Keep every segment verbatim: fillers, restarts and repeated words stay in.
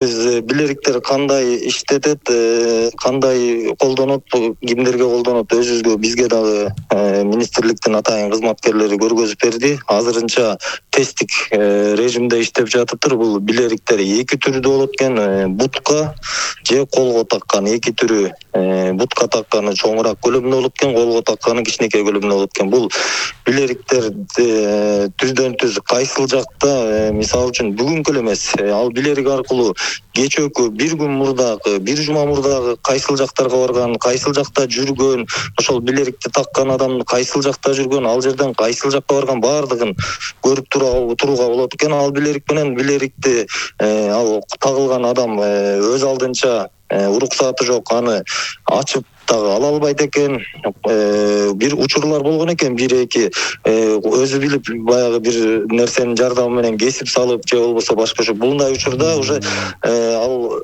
Биз билериктер кандай иштетет, кандай колдонот, кимдерге колдонот өзүбүзгө бизге дагы министрликтин атайын кызматкерлери көргөзүп берди. Азырынча тесттик режимде иштеп жатыптыр. Бул билериктер эки түрдүү болот экен, бутка же колго таккан эки түрү. Бутка такканы чоңураак көлөмдө болот экен, колго такканы кичинекей көлөмдө болот экен. Бул билериктер түздөн түз кайсыл жакта, мисалы үчүн бүгүнкү эле эмес, ал билерик аркылуу кечөөкү бир күн мурдагы, бир жума мурдагы кайсыл жактарга барган, кайсыл жакта жүргөн, ошол билерикти таккан адам кайсыл жакта жүргөн, ал жерден кайсыл жакка барган баардыгын көрүп турууга болот экен. Ал билерик менен билерикти ал тагылган адам өз алдынча уруксаты жок, аны ачып дагы ала албайт экен. Бир учурлар болгон экен, бир эки өзү билип баягы бир нерсенин жардамы менен кесип салып же болбосо башкача. Булундай учурда уже ал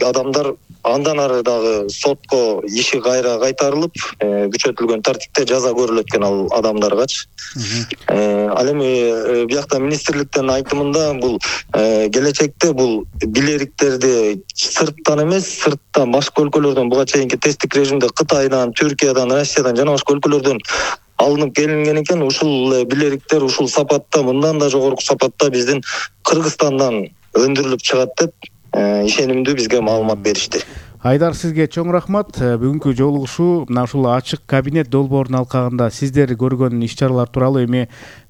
адамдар андан ары дагы сотко иши кайра кайтарылып, күчөтүлгөн тартипте жаза көрүлөт экен ал адамдаргачы. Ал эми биякта министрликтин айтымында бул келечекте бул билериктерди сырттан эмес, сырттан башка өлкөлөрдөн буга чейинки тесттик режимде Кытайдан, Түркиядан, Россиядан жана башка өлкөлөрдөн алынып келинген экен. Ушул билериктер ушул сапатта, мындан да жогорку сапатта биздин Кыргызстандан өндүрүлүп чыгат деп ишенимдүү бизге маалымат беришти. Айдар, сизге чоң рахмат. Бүгүнкү жолугушуу мына ушул ачык кабинет долбоорунун алкагында сиздер көргөн иш-чаралар тууралуу эми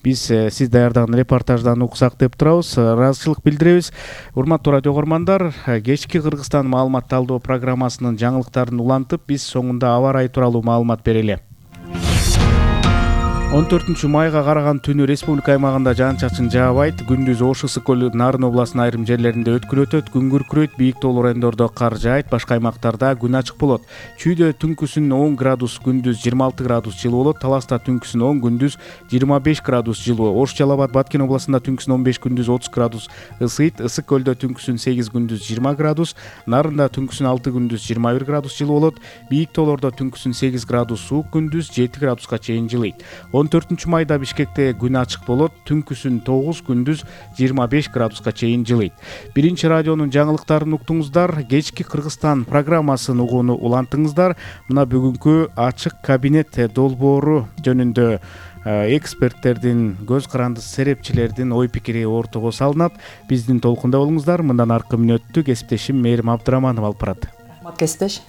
биз сиз даярдаган репортаждан уксак деп турабыз. Ыраазычылык билдиребиз. Урматтуу радио көргөрмандар, кечки Кыргызстан маалымат талдоо программасынын жаңылыктарын улантып, биз соңунда аба ырайы тууралуу маалымат берели. он төртүнчү майга караган түнү республика аймагында жаан-чачын жаабайт. Күндүз Ош, Ысык көл, Нарын областынын айрым жерлеринде өткүл өтөт. Күн күркүрөйт, бийик тоолуу райондордо кар жаайт. Башка аймактарда күн ачык болот. Чүйдө түнкүсүн он градус, күндүз жыйырма алты градус жылуу болот. Таласта түнкүсүн он, күндүз жыйырма беш градус жылуу. Ош, Жалал Абад, Баткен областында түнкүсүн он беш, күндүз отуз градус ысыйт. Ысык көлдө түнкүсүн сегиз, күндүз жыйырма градус. Нарында түнкүсүн алты, күндүз жыйырма бир градус жылуу болот. Бийик тоолордо түнкүсүн сегиз градус суук, күндүз жети градуска чейин жылыйт. он төртүнчү майда Бишкекте күн ачык болот. Түнкүсүн тогуз, күндүз жыйырма беш градуска чейин жылыйт. Биринчи радионун жаңылыктарын уктуңуздар. Кечки Кыргызстан программасын угууну улантыңыздар. Мына бүгүнкү ачык кабинет долбоору жөнүндө эксперттердин, көз каранды серепчилердин ой пикири ортого салынат. Биздин толкунда болуңуздар. Мындан аркы мүнөттү кесиптешим Мээрим Абдыраманова алып барат. Рахмат, кесиптеш.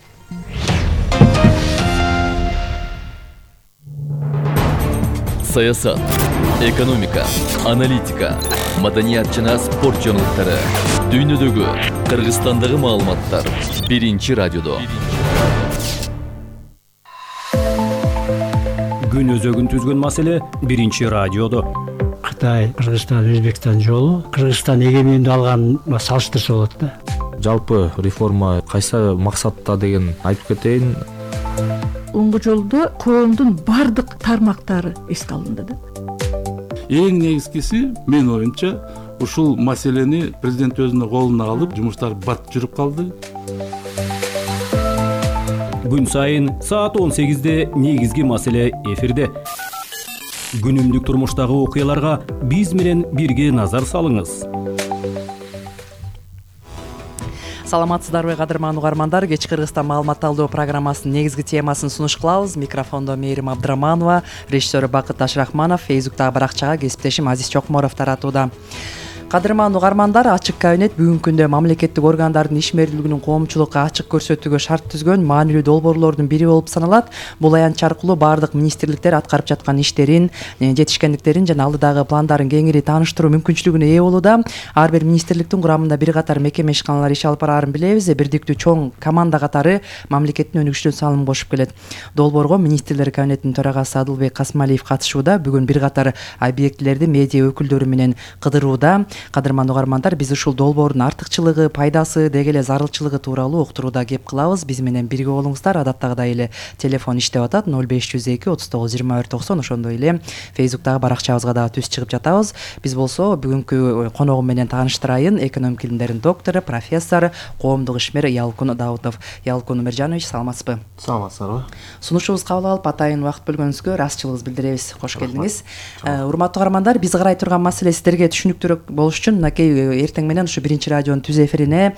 Саясат, экономика, аналитика, маданият жана спорт жаңылыктары, дүйнөдөгү, Кыргызстандагы маалыматтар биринчи радиодо. Күн өзөгүн түзгөн маселе биринчи радиодо. Кытай, Кыргызстан, Өзбекстан жолу Кыргызстан эгемендүү алган салыштырса болот да. Жалпы реформа кайсы максатта деген айтып кетейин. Оңго жолдо коомдун бардык тармактары эске алынды да. Эң негизгиси мен оюмча ушул маселени президент өзүнүн колуна алып, жумуштар бат жүрүп калды. Күн сайын саат он сегизде негизги маселе эфирде. Күнүмдүк турмуштагы окуяларга биз менен бирге назар салыңыз. Саламатсыздарбы, кадырман угармандар. Кечки Кыргызстан маалымат талдоо программасынын негизги темасын сунуш кылабыз. Микрофондо Мээрим Абдыраманова, режиссер Бакыт Ташрахманов, Фейсбуктагы баракчага кесиптешим Азиз Чокморов таратууда. Кадырман угармандар, ачык кабинет бүгүнкү күндө мамлекеттик органдардын ишмердүүлүгүнүн коомчулукка ачык көрсөтүүгө шарт түзгөн маанилүү долбоорлордун бири болуп саналат. Бул аянтча аркылуу бардык министрликтер аткарып жаткан иштерин, жетишкендиктерин жана алдыдагы пландарын кеңири тааныштыруу мүмкүнчүлүгүнө ээ болууда. Ар бир министрликтин курамында бир катар мекеме ишканалар иш алып бараарын билебиз. Бирдиктүү чоң команда катары мамлекеттин өнүгүшүнө салым кошуп келет. Долбоорго министрлер кабинетинин төрагасы Адылбек Касмалиев катышууда. Бүгүн бир катар объектилерди медиа өкүлдөрү менен кыдырууда. Кадырман угармандар, биз ушул долбоордун артыкчылыгы, пайдасы, деги эле зарылчылыгы тууралуу уктурууда кеп кылабыз. Биз менен бирге болуңуздар. Адаттагыдай эле телефон иштеп атат: ноль беш жүз эки отуз тогуз жыйырма бир токсон. Ошондой эле Фейсбуктагы баракчабызга дагы түз чыгып жатабыз. Биз болсо бүгүнкү коногум менен тааныштырайын. Экономика илимдеринин доктору, профессор, коомдук ишмер Ялкун Даутов. Ялкун Умиржанович, саламатсызбы? Саламатсыздарбы? Сунушубузду кабыл алып, атайын убакыт бөлгөнүңүзгө ыраазычылыгыбызды билдиребиз. Кош келдиңиз. Урматтуу угармандар, биз карай турган маселе сиздерге түшүнүктүүрөөк болушу болуш үчүн мынакей эртең менен ушу биринчи радионун түз эфирине